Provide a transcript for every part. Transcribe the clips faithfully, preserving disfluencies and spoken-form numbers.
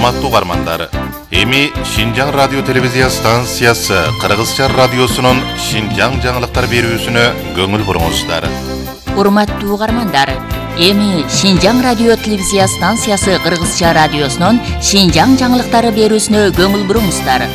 Урматтуу угармандар, эми Шинжаң радио телевизия станциясы Кыргызча радиосунун Шинжаң жаңылыктар берүүсүнө көңүл буруңуздар. Урматтуу угармандар, эми Шинжаң радио телевизия станциясы Кыргызча радиосунун Шинжаң жаңылыктары берүүсүнө көңүл буруңуздар.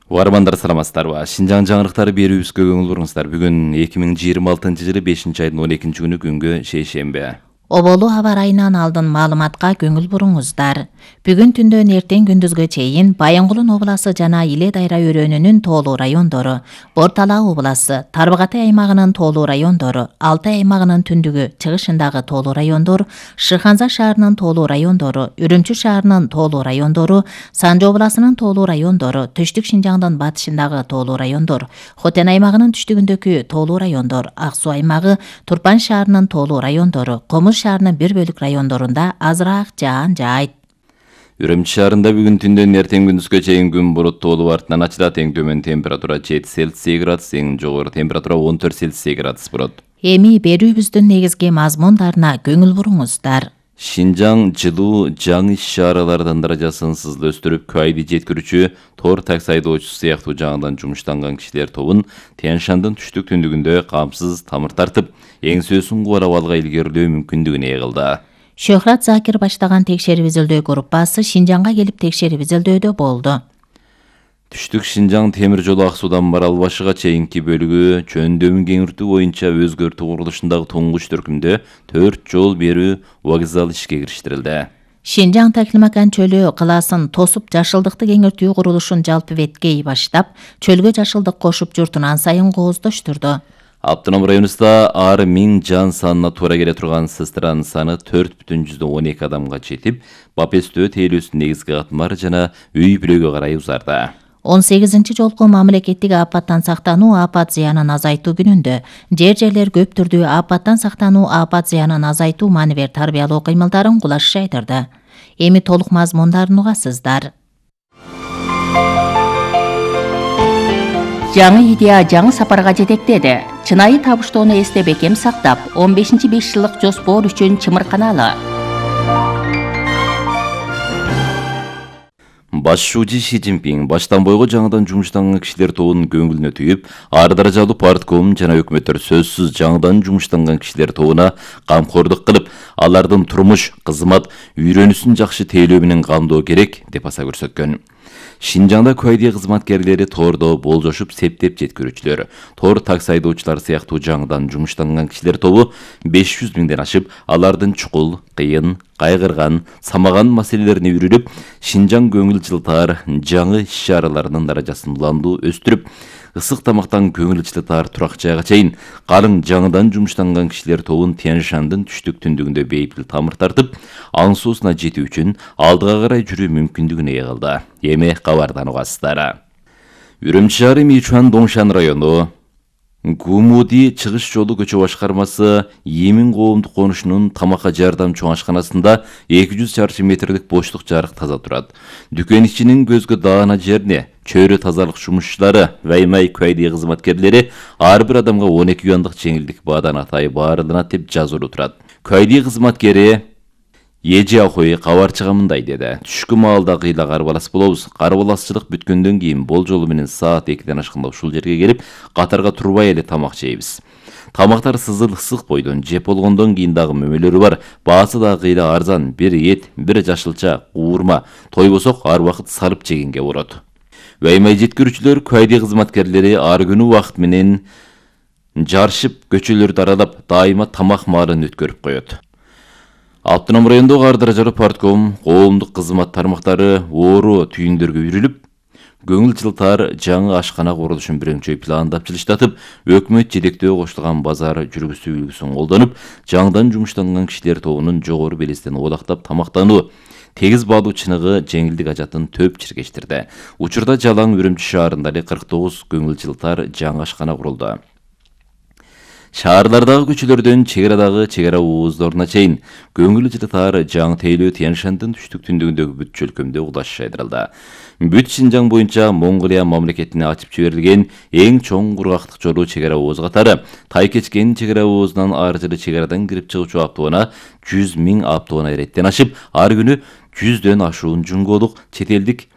Угармандар саламатсыздарбы? Шинжаң жаңылыктары берүүбүзгө көңүл буруңуздар. Бүгүн эки миң жыйырма алтынчы жылы бешинчи айдын он экинчи күнү күнгө шейшемби. Оболу аба ырайынан алдын маалыматка көңүл буруңуздар. Бүгүн түндөн эртең күндүзгө чейин Баянгулун обласы жана Иле Дайра өрөөнүнүн тоолуу райондору, Бортала обласы, Тарбагатай аймагынын тоолуу райондору, Алтай аймагынын түндүгү, чыгышындагы тоолуу райондор, Шыханза шаарынын тоолуу райондору, Үрүмчү шаарынын тоолуу райондору, Санжы обласынын тоолуу райондору, Түштүк Шинжаңдын батышындагы тоолуу райондор, Хотен аймагынын түштүгүндөгү тоолуу райондор, Ак Суу аймагы, Турпан шаарынын тоолуу райондору, Комуз шаарынын бир бөлүк райондорунда азыраак жаан жаайт. Үрүмчү шаарында бүгүн түндөн эртең күндүзгө чейин күн буруттуу болуп артынан ачылат. Эң төмөн температура жети Цельсий градус, эң жогору температура он төрт Цельсий градус болот. Эми берүүбүздүн негизги мазмундарына көңүл буруңуздар. Шинжаң жылуу жаңы иш-чаралардын даражасын сызылып кайды жеткирүүчү тор такси айдоочусу сыяктуу жаңыдан жумуштанган кишилер тобун Тянь-Шандын түштүк түндүгүндө камсыз тамыр тартып, эңсөөсүн кубарап алга илгерилөө мүмкүндүгүн ээлди. Шөхрат Закир баштаган текшерип изилдөө группасы Шинжаңга келип текшерип изилдөөдө болду. Түштүк Шинжаң темир жолу Ак Суудан Марал башыга чейинки бөлүгү жөндөмүн кеңиртүү боюнча өзгөртүү курулушундагы туңгуч төркүмдө төрт жол берүү вокзалы ишке кириштирилди. Шинжаң Таклимакан чөлү кылаасын тосуп жашылдыкты кеңиртүү курулушун жалпы беткей баштап, чөлгө жашылдык кошуп журтун ан сайын кооздоштурду. Аптоном районубузда ар миң жан санына туура келе турган сестранын саны төрт бүтүн жүздөн он эки адамга жетип, Бапестөө тейлөөсүнүн негизги катмары жана үй бүлөгө карай узарды. он сегизинчи жолку мамлекеттик апаттан сактануу апат зыянын азайтуу күнүндө жер жерлер көп түрдүү апаттан сактануу апат зыянын азайтуу маневер тарбиялоо кыймылдарын кулаш айтырды. Эми толук мазмундарын угасыздар. Жаңы идея жаңы сапарга жетектеди. Чынайы табыштоону эсте бекем сактап, он бешинчи беш жылдык жоспор үчүн чымырканалы. Башчы Ши Цзиньпин баштан бойго жаңыдан жумуштанган кишилер тобунун көңүлүнө түйүп, ар даражалуу партком жана өкмөттөр сөзсүз жаңыдан жумуштанган кишилер тобуна камкордук кылып, алардын турмуш, кызмат, үйрөнүүсүн жакшы тейлөө менен камдоо керек деп баса көрсөткөн. Шинжаңда кайдия кызматкерлери тордо болжошуп септеп жеткирүүчүлөр, тор такси айдоочулар сыяктуу жаңыдан жумуштанган кишилер тобу беш жүз миңден ашып, алардын чукул, кыйын, кайгырган, самаган маселелерине үйрүлүп, Шинжаң көңүл жылтаар жаңы иш-чараларынын даражасын уландуу өстүрүп, ысык тамактан көңүл жылтаар турак жайга чейин калың жаңыдан жумуштанган кишилер тобун Тянь-Шандын түштүк түндүгүндө бейпил тамыр тартып, аң суусуна жетүү үчүн алдыга карай жүрүү мүмкүндүгүн ээ кылды. Эми кабардан угасыздар. Үрүмчү шаары Мичуан Доңшан району Гумуди чыгыш жолу көчө башкармасы Эмин коомдук конушунун тамакка жардам чоң ашканасында эки жүз чарчы метрлик боштук жарык таза турат. Дүкөн ичинин көзгө даана жерине чөйрө тазалык жумушчулары, Ваймай кайдия кызматкерлери ар бир адамга он эки юандык жеңилдик баадан атайы баарыланат деп жазылуу турат. Кайдия кызматкери Эжи Ахой кабарчыга мындай деди: Түшкү маалда кыйла карбалас болобуз. Карбаласчылык бүткөндөн кийин бол жолу менен саат экиден ашканда ушул жерге келип, катарга турбай эле тамак жейбиз. Тамактар сызыл ысык бойдон жеп болгондон кийин дагы мөмөлөрү бар. Баасы да кыйла арзан, бир эт, бир жашылча, уурма, тойбосок ар убакыт сарып жегенге болот. Ваймай жеткирүүчүлөр, кайдия кызматкерлери ар күнү убакыт менен жарышып, көчөлөрдү аралап, дайыма тамак маалын өткөрүп коет. Аптоном райондогу ар даражалуу партком, коомдук кызмат тармактары оору түйүндөргө үйрүлүп, көңүл жылтаар жаңы ашкана курулушун бирөңчөй пландап жылыштатып, өкмөт жетектөө коштулган базар жүргүзүү үлгүсүн колдонуп, жаңыдан жумуштанган кишилер тобунун жогору белестен оолактап тамактануу, тегиз баалуу чыныгы жеңилдик ажатын төп чиркештирди. Учурда жалаң Үрүмчү шаарында эле кырк тогуз көңүл жылтаар жаңы ашкана курулду. Шаарлардагы көчөлөрдөн чек арадагы чек ара ооздоруна чейин көңүл жылытаар жаңы тейлөө Тянь-Шандын түштүк түндүгүндөгү бүт чөлкөмдө улаш жайдырылды. Бүт Шинжаң боюнча Монголия мамлекетине ачып жиберилген эң чоң кургактык жолу чек ара ооз катары Тайкечкен чек ара оозунан ар жылы чек арадан кирип чыгуучу автоунаа жүз миң автоунаа иреттен ашып, ар күнү жүздөн ашуун жуңголук чет элдик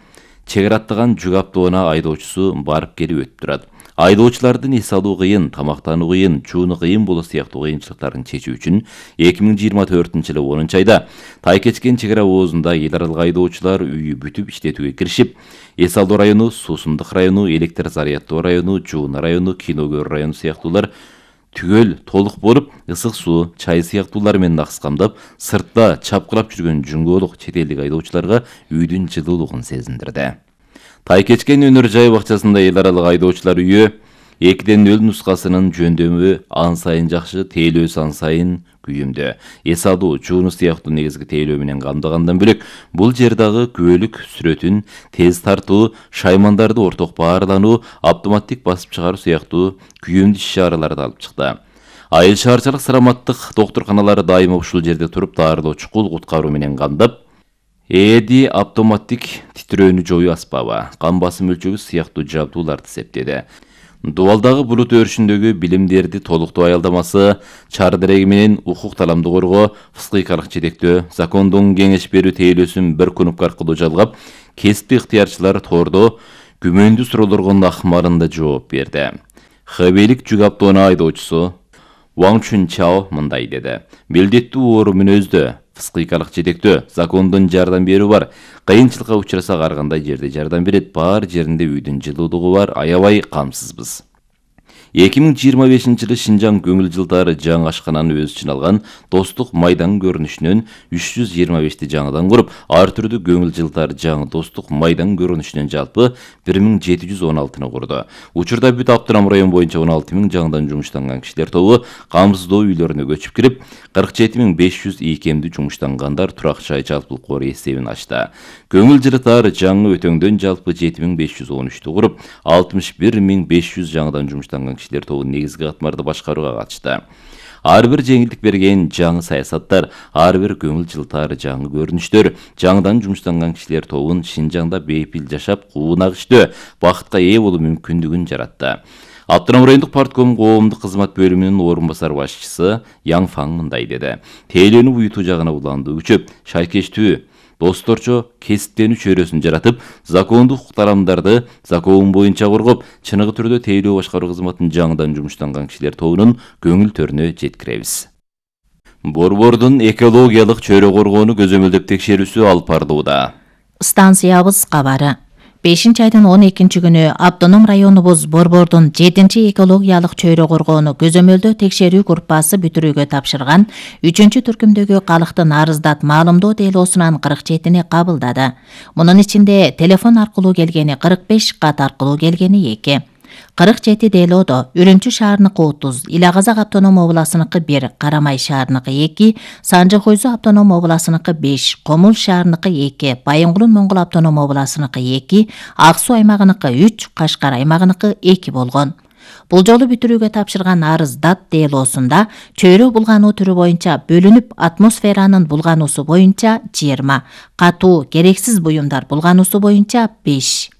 чек ара аттаган жүк автоунаа айдоочусу барып келип өтүп турат. Айдоочулардын эс алуу кыйын, тамактануу кыйын, жууну кыйын болуу сыяктуу кыйынчылыктарын чечүү үчүн эки миң жыйырма төртүнчү жылы онунчу айда Тайкечкен чек ара оозунда эл аралык айдоочулар үйү бүтүп иштетүүгө киришип, эс алуу району, Суусундук району, электр заряддоо району, Жууна району, Киногөр району сыяктуулар түгөл толук болуп, ысык суу, чай сыяктуулар менен акскамдап, сыртта чапкылап жүргөн жуңголук чет элдик айдоочуларга үйдүн жылуулугун сезиндирди. Тайкечкен өнөр жай бакчасында эл аралык айдоочулар үйү экиден нөл нускасынын жөндөмү ан сайын жакшы, тейлөөсү ан сайын күйүмдүү. Эс алуу, жууну сыяктуу негизги тейлөө менен камдагандан бөлөк, бул жер дагы күбөлүк сүрөтүн, тез тартуу, шаймандарды орток баарлануу, автоматтик басып чыгаруу сыяктуу күйүмдүү иш-чараларды алып чыкты. Айыл шаарчылык саламаттык доктурканалары дайыма ушул жерде туруп даарылоо, чукул куткаруу менен камдап, ЭДИ автоматтик титрөөнү жоюу аспабы, кан басым өлчөгү сыяктуу жабдууларды септеди. Дубалдагы булут өрүшүндөгү билимдерди толуктоо аялдамасы, чар дереги менен укук таламды коргоо, фыскыйкалык жетектөө, закондун кеңеш берүү тейлөөсүн бір кнопка аркылуу жалгап, кесиптик ыктыярчылар тордо күмөндүү суроолорго акмарында жооп берди. Хэбейлик жүк автоунаа айдоочусу Ван Чун Чао мындай деди: "Милдеттүү оору мүнөздө, фыскыйкалык жетектөө, закондун жардам берүү бар. Кыйынчылыкка учураса ар кандай жерде жардам берет, бар жеринде үйдүн жылуулугу бар, аябай камсызбыз." эки миң жыйырма бешинчи жылы Шинжаң көңүл жылтары жаңы ашкананы өз ичине алган достук майдан көрүнүшүнөн үч жүз жыйырма бешти жаңыдан куруп, ар түрдүү көңүл жылтары жаңы достук майдан көрүнүшүнөн жалпы бир миң жети жүз он алтыны курду. Учурда бүт Аптырам район боюнча он алты миң жаңыдан жумуштанган кишилер тобу камсыздоо үйлөрүнө көчүп кирип, кырк жети миң беш жүз ийкемдүү жумуштангандар турак жай жалпылык кор эсебин ачты. Көңүл жылтары жаңы өтөңдөн жалпы жети миң беш жүз он үчтү куруп, алтымыш бир миң беш жүз жаңыдан жумуштанган кишилер тобу негизги катмарды башкарууга катышты. Ар бир жеңилдик берген жаңы саясаттар, ар бир көңүл жылтары жаңы көрүнүштөр жаңыдан жумуштанган кишилер тобун Шинжаңда бейпил жашап, куунак иштөө, бакытка ээ болуу мүмкүндүгүн жаратты. Аптырам райондук партком коомдук кызмат бөлүмүнүн орун басар башчысы Яң Фаң мындай деди: "Тейлөөнү буютуу жагына уланды күчөп, шайкечтүү, досторчо кесиптенүү чөйрөсүн жаратып, закондук укуктарамдарды закон боюнча коргоп, чыныгы түрдө тейлөө башкаруу кызматын жаңыдан жумуштанган кишилер тобунун көңүл төрүнө жеткиребиз." Борбордун экологиялык чөйрө коргоону көзөмөлдөп текшерүүсү алып барылууда. Станциябыз кабары. бешинчи айдын он экинчи күнү Автоном районубуз Борбордун жетинчи экологиялык чөйрө коргоону көзөмөлдөө текшерүү группасы бүтүрүүгө тапшырган үчүнчү түркүмдөгү калктын арыздат маалымдоо делоосунан кырк жетини кабылдады. Мунун ичинде телефон аркылуу келгени кырк беш, кат аркылуу келгени эки. кырк жети делоодо Үрүмчү шаарыныкы отуз, Ила Казак автоном областыныкы бир, Карамай шаарыныкы эки, Санжы Койзу автоном областыныкы беш, Комул шаарыныкы эки, Байынгулун Моңгол автоном областыныкы эки, Ак Суу аймагыныкы үч, Кашкар аймагыныкы эки болгон. Бул жолу бүтүрүүгө тапшырган арыз дат делоосунда чөйрө булгануу түрү боюнча бөлүнүп, атмосферанын булгануусу боюнча жыйырма, катуу керексиз буюмдар булгануусу боюнча беш,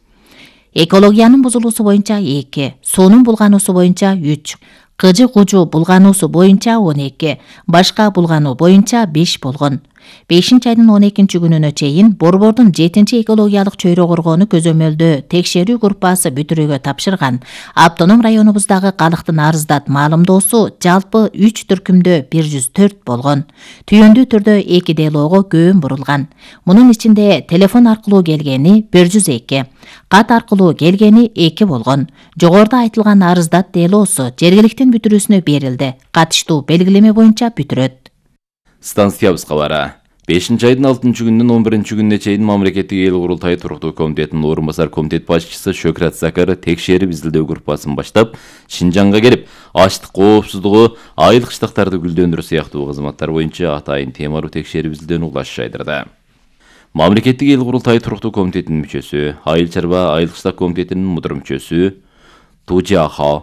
экологиянын бузулуусу боюнча эки, суунун булгануусу боюнча үч, кыжы кужу булгануусу боюнча он эки, башка булгануу боюнча беш болгон. бешинчи айдын он экинчи күнүнө чейин Борбордун жетинчи экологиялык чөйрө коргоону көзөмөлдөө текшерүү группасы бүтүрүүгө тапшырган Автоном районубуздагы калктын арыздат маалымдоосу жалпы үч түркүмдө бир жүз төрт болгон. Түйүндүү түрдө эки делоого көбүн бурулган. Мунун ичинде телефон аркылуу келгени бир жүз эки, кат аркылуу келгени эки болгон. Жогоруда айтылган арыздат делоосу жергиликтин бүтүрүүсүнө берилди. Катыштуу белгилеме боюнча бүтүрөт. Станциябыз кабары. бешинчи айдын алтынчы күнүнөн он биринчи күнүнө чейин мамлекеттик эл курултайы туруктуу комитетинин орун басар комитет башчысы Шөкрат Закар текшерип изилдөө группасын баштап, Шинжаңга келип, ачлык коопсуздугу, айыл кыштактарды гүлдөндүрүү сыяктуу кызматтар боюнча атайын темалуу текшерип изилдөөнү улаш жайдырды. Мамлекеттик эл курултайы туруктуу комитетинин мүчөсү, айыл чарба айыл кыштак комитетинин мудур мүчөсү Тужи Аха